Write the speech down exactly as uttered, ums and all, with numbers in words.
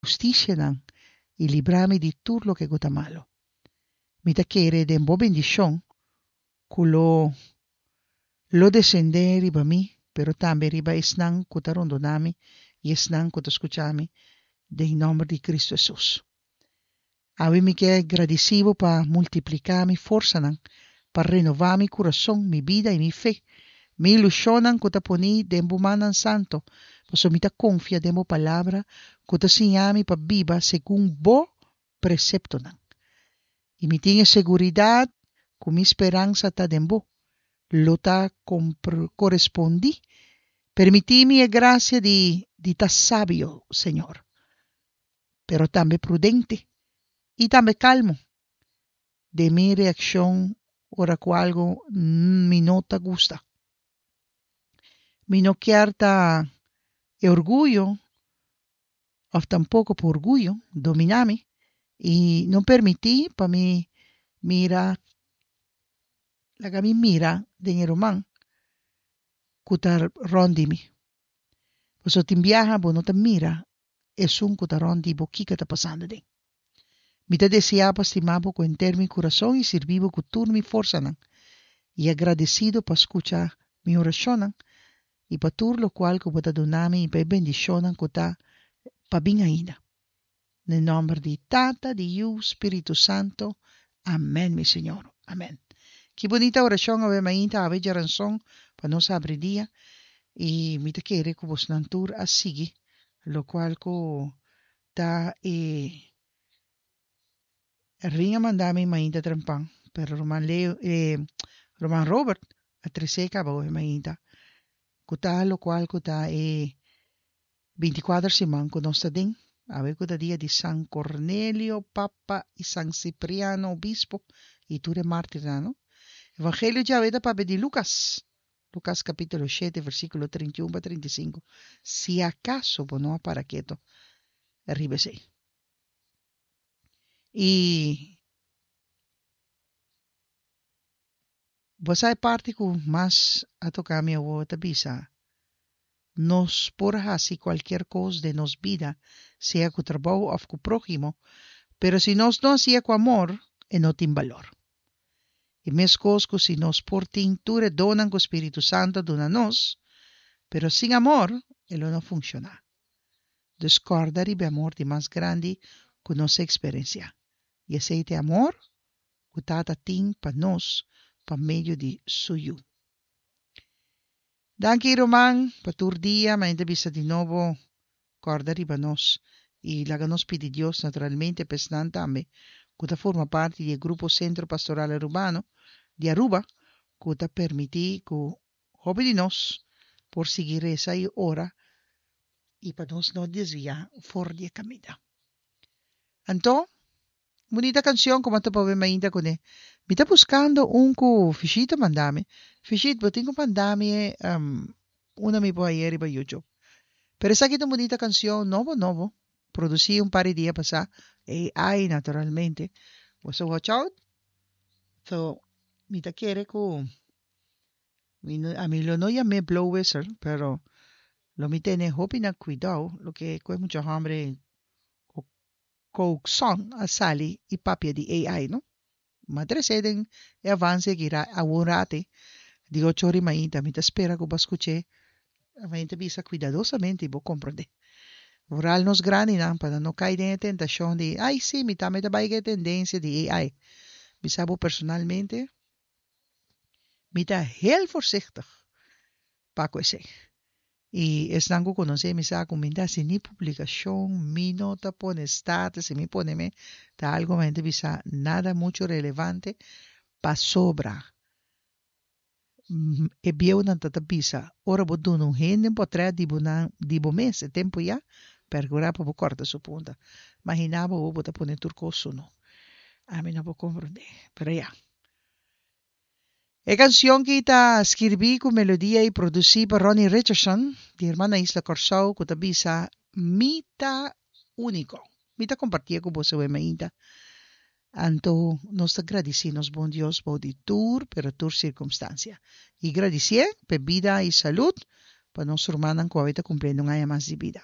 hustisianan i libra mi di tur loke ku ta malu. Mi ta kere den bo bendishon ku lo lo desendé riba mi, pero tambe riba esnan ku ta rondoná mi i esnan ku ta skucha mi, den nòmber di Kristu Hesus. Awe mi ke gradisí bo pa multipliká mi forsanan, pa renová mi kurason, mi bida i mi fe, mi ilushonnan ku ta poní den bo mannan santu, pasobra mi ta konfia den bo Palabra ku ta siña mi pa biba segun bo preseptonan. I mi tin e seguridat ku mi speransa ta den bo, lo ta korespondí. Permití mi e grasia di di ta sabio, Señor, pero tambe prudente i tambe kalmu den mi reakshon ora ku algu mi no ta gusta. Mi no kier ta e orguyo òf tampoko pa orguyo dominá mi i no permití pa mi mira laga mi mira den e ruman ku ta rònt di mi. Pasobra tin biaha bo no ta mira esun ku ta rònt di bo kiko ta pasando den. Mi ta deseá pa stima bo ku henter mi kurason i sirbi bo ku tur mi forsanan, i agradesido pa skucha mi orashonnan i pa tur lokual ku bo ta duna mi i pa e bendishonnan ku ta pa bin ainda. Na e nòmber di Tata, di Yu, Spiritu Santo. Amèn, mi Señor. Amèn. Ki bunita orashon awe mainta, awe djaranson pa nos habri dia. I mi ta kere ku bosnan tur a sigui lokual ku ta e Erwin a manda mi mainta trempan, pero ruman Leo, e ruman Robert a tres'é kaba awe mainta, ku ta lokual ku ta e binti kuater siman ku nos ta den, awe ku ta dia di San Cornelio, Papa, i San Cipriano, Obispo, i tur e mártirnan, no? Evangelio djawe ta papia di Lukas, Lukas kapítulo shete, versíkulo trinta i un pa trinta i sinku, si akaso bo no a para ketu riba esei. I bo sa e parti ku mas a toka mi awor ta bisa, Nos por hasi kualkier kos den nos bida, sea ku trabou òf ku próhimo, pero si nos no hasié ku amor, e no tin balor. I meskos ku si nos por tin tur e donnan ku spiritu santu a duna nos, pero sin amor, e lo no funshoná. Dus kòrda riba e amor di mas grandi ku nos a eksperensiá, i esei ta e amor ku Tata tin pa nos pa medio di Su Yu. Danki ruman pa tur dia, ma ta bisa di nobo kòrda riba nos i laga nos pidi Dios naturalmente pa esnan tambe ku ta forma parti di e grupo Centro Pastoral Arubano di Aruba ku ta permití ku hopi di nos por sigui resa i ora i pa nos no desviá for di e kaminda. Anto, un bunita kanshon ku mi a topa awe mainta kuné. Mi ta buskando un ku Fishit a manda mi. Fishit, bo tin ku manda mi e unda mi por hañ'é riba YouTube. Pero esaki ta un bunita kanshon nobo nobo, produsí un par di dia pasá, A I naturalmente. Boso watch out. So, mi ta kere ku mi no, ami lo no yam'é blow whistle, pero lo mi tene hopi na kuidou loke ku e mucha hòmber Cookson a sali i papia di A I no. M'a tres'é den e avanse aki ra awor rate di ocho ora i mainta. Mi ta spera ku bo a skuch'é. Mi ta bisa kuidadosamente i bo komprondé. Vooral nos grandinan pa nan no kai den e tentashon di, Ai sí, mi tambe ta bai ku e tendensia di A I. Bisa bo personalmente, mi ta heel voorzichtig pa ku esei. I esnan ku konosé mi sa ku mi no ta hasi ni publikashon, mi no ta pone status, si mi pone mi ta algu mi ta bisa nada muchu relevante pasobra e bieunan ta ta bisa ora bo duna un hende un potrèt di bo nan di bo mes e tempu ya perkurá pa bo kòrta su punta. Maginá bo bo ta pone tur kos su no. Ami no por komprondé, pero ya. E kansion ki ta skirbí ku melodia i produsí pa Ronnie Richardson di Hermana Isla Kòrsou ku ta bisa Mi ta úniko. Mi ta kompartié ku boso awe mainta. Anto nos ta gradisí nos bon Dios bou di tur pero tur sirkumstansia. I gradisié p'e bida i salud pa nos rumannan ku awe ta kumpliendo un aña mas di bida.